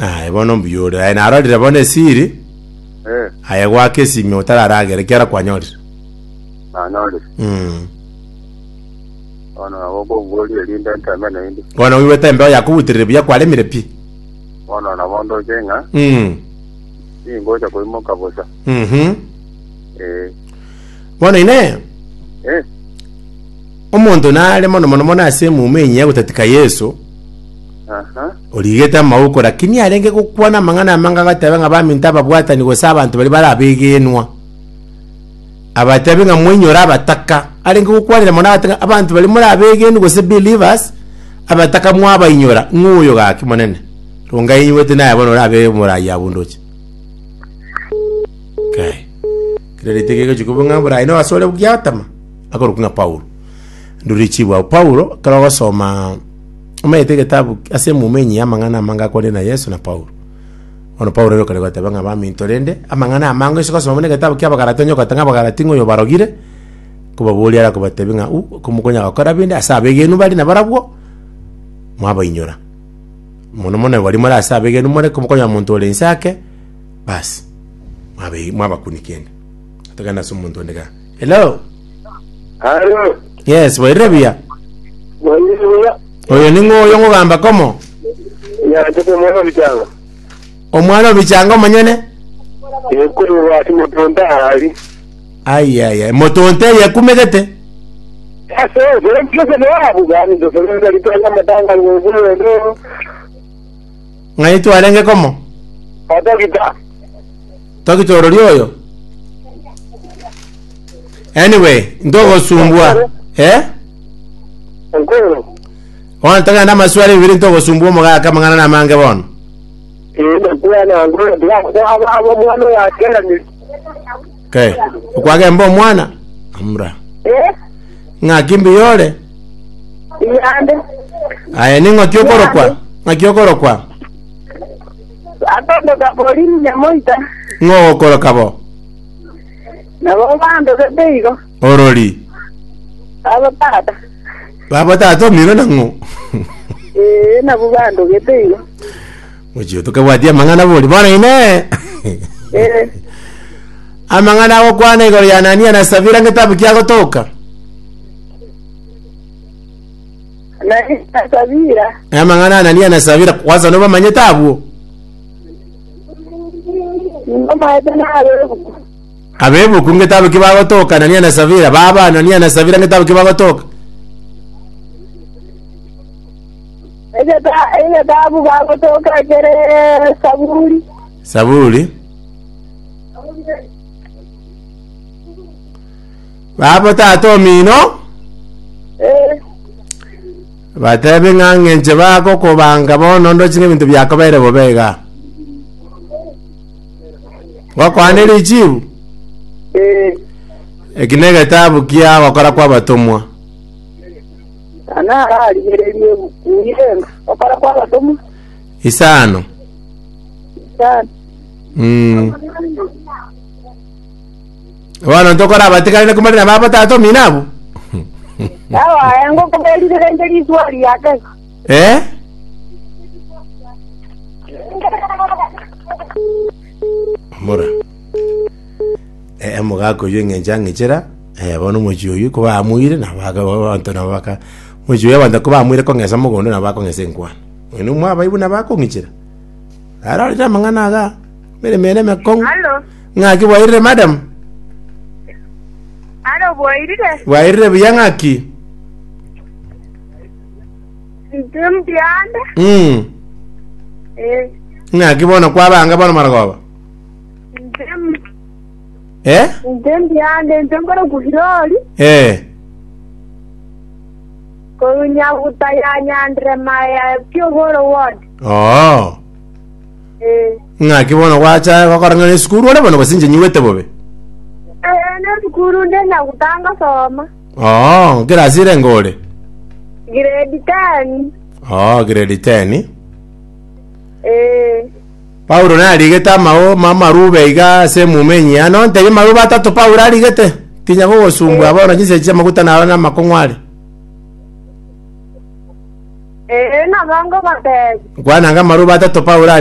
Aye bono mbuya ore. Aye narorire bono esiri, Eh, aye gwaka esimi otararagera ekiagera kwanyorire. nanyorire. Mm. Bono nabo okomboria erinde nteme naende. Bono oigwete embeo yakobuterire buya kwaremire pi. Bono nabo ndoche ng'a Mm. tingocha koimoka bosa. Mhm. Eh, Bono inee, eh, omonto nare mono mono mono ase emuma enyiya gotatika Yeso, aha, origete amauko, lakini arenge gokwana amang'ana amange agateba ng'a baminto ababwatani gose abanto baria bare abegenwa. Abatebi ng'a moinyore abataka. Arenge gokwanera mono agateba ng'a abanto baria more abegenwa gose believers, abataka mwabainyora, ng'o oyo gaki monene? Rongai inywete naye bono orabe omorai abwo ndoche. Kai. Kera ritiko egochia koba ng'a oborai noyo ase ore giatama, akorokwa ng'a Paulo. Ndure richibu abwo. Paulo, ekero ogosoma omanyete egetabu ase emuma engiya amang'ana amange akwanire na Yeso na Paulo. Bono Paulo ere okare goteba ng'a baminto rende, amang'ana amange ase gosoma buna egetabu kia Abagalati onye ogoteba ng'a Abagalati ng'a oyobarogire, nkobaboria are akobatebia ng'a u, komokonya gokora binde ase abegenwa bare nabarabwo, mwabainyora. Mono mono baria more ase abegenwa more, komokonya omonto ore inse ake, basi, mwabe mwabakunia kende. Togende ase omonto onde igaa. Hello! Halo, Yes, bwairire buya? bwairire buya. Oyo ning'o oyo ngogamba komo? Nyanchete omwana obichanga. Omwana obichanga omonyene? Ekorwa ase motonto ahari. Ayaya, motonto eye ekumegete. Ase ose mpese noabu gani ndosorenda ritanga amatanga ng'ogwendo. Ng'ai twarenge komo? Otogita. Togita orori oyo? Anyway, ntogosumbua. Eh? Enkoro. Bono togende amaswali bibiri ntogosumbua omogaka amang'ana namange bono. Ndakwana ngo abo omwana oyo akeranire. Okay. Okwagemba omwana? Amura. Eh, Ng'aki mbuya ore? iyande. Aye ning'o ki okorokwa? Ng'aki okorokwa? Atondoka Pauline Nyamoita. Ng'o ogokoroka bo? Nabo bandogete igo. Orori. Abo tata. Baba tata omino nang'o? Ee, nabo bandogete igo. Mochie tokabwatia amang'ana bori. Bono inee. Ee. Amang'ana agokwana igoro ya Anania na Safira ngetabu ki agotoka? Anania na Safira. Amang'ana Anania na Safira kwanza nobamanyete abwo? Nimbamayete nabebuku. Abebuku ngetabu ki bagotoka Anania na Safira? Baba Anania na Safira ngetabu ki bagotoka? Egeta- Egetabu bagotoka kere Saburi. Saburi. Baba tata omino Eh, batebe ng'a ng'enche bagokobanga bono ndoche ng'a ebinto biakobeire bobe iga. Gokwane richibu eh, eki negetabu kia gokora kwa abatomwa. Ana ararigererie ebuku irenga gokora kwa abatomwa. Isano. Isano. Mm. Bono ntokora abatigari komari na baba tata omino abwo. Abaye ngokoberire rende riswali yake. Eh? Mura. Eh, omogaka oyio eng'encho ang'echera, eh, bono omochie oyio kobamuire nabo aka abanto nabo baka omochie oyio abanto kobamuire kong'esa mogondo nabo bakong'esa enkwana. Oyo nomwabaibwe nabo akong'ichera. Arorire amang'ana igaa, emeremo ere emekong'u. Halo, Ng'aki bwairire madam? halo bwairire? Bwairire buya ng'aki? Intwe mbiande. Mm. Eh, Ng'aki bono kwabanga bono marogoba? intwe Eh? intwe mbiande, intwe nkore kuhirori. Eh. Korwa Nyaguta ya Nyanderema ya Kiogoro Ward. Oo. Eh. Ng'aki bono gwacha gokora ng'a nesukuru ore bono gose inche nyigwete bobe? Eh, nesukuru nde Nyaguta ngosoma. Oo, nkerasi ere ngore? Grade 10. Oo, grade 10. Eh. Paulo narigete amao amarube iga ase emuma enyiya. Nontebie amarube atato Paulo arigete? Tinya gogosumbua bono chinsa chi'amaguta naro namakong'u are. Ee, nabo ngogoteebia. Nkwana ng'a amarube atato Paulo arigete.